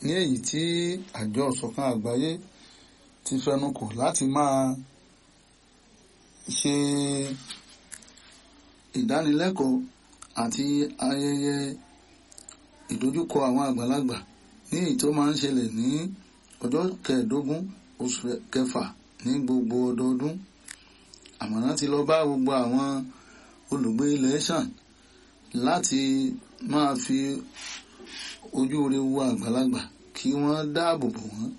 Ní èyí tí àjọ ìṣọ̀kan àgbáyé ti fẹnukò láti máa ṣe ìdánilẹ́kọ̀ọ́ àti ayẹyẹ ìdojúkọ àwọn àgbàlagbà ní èyí tó máa ń ṣẹlẹ̀ ní ọjọ́ 15 oṣù kẹfà ní gbogbo ọdọọdún. Àmọ̀ràn ti lọ bá gbogbo àwọn olùgbé ilẹ̀ Ṣàn láti máa fi ojú rere wo àgbàlagbà, kí wọ́n dáàbò bò wọ́n,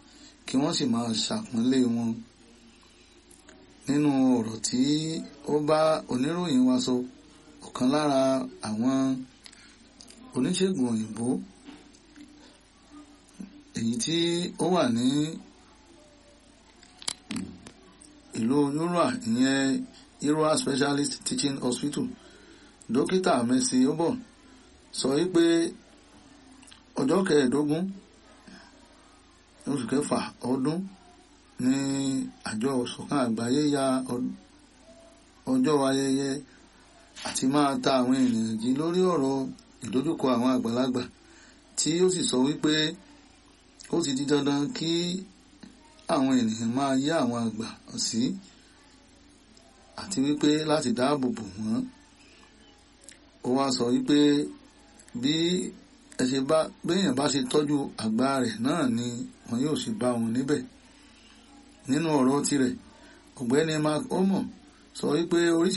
kí wọ́n sì máa ṣàpọ́nlé wọn. Nínú ọ̀rọ̀ tí ó bá oníròyìn wa sọ, ọ̀kan lára àwọn oníṣègùn òyìnbó èyí tí ó wà ní ìlú Yorùbá, ìyẹn Irua Specialist Teaching Hospital, Dókítà Mercy Obon, sọ wípé ọjọ́ 15 oṣù kẹfà ọdún ní àjọ ìṣọ̀kan àgbáyé ya ọjọ́ ayẹyẹ àti máa ta àwọn ènìyàn jí lórí ọ̀rọ̀ ìdojúkọ àwọn àgbàlagbà, tí ó sì sọ wípé ó ti di dandan kí àwọn ènìyàn máa yá àwọn àgbà sí àti wípé láti dáàbò bò wọ́n. Ó wá sọ wípé bí ẹ ṣe bá béèyàn bá ṣe tọ́jú àgbà rẹ̀ náà ni wọn yóò sì bá wọn níbẹ̀. Nínú ọ̀rọ̀ tirẹ̀, Ọ̀gbẹ́ni Mark Omo sọ wípé oríṣi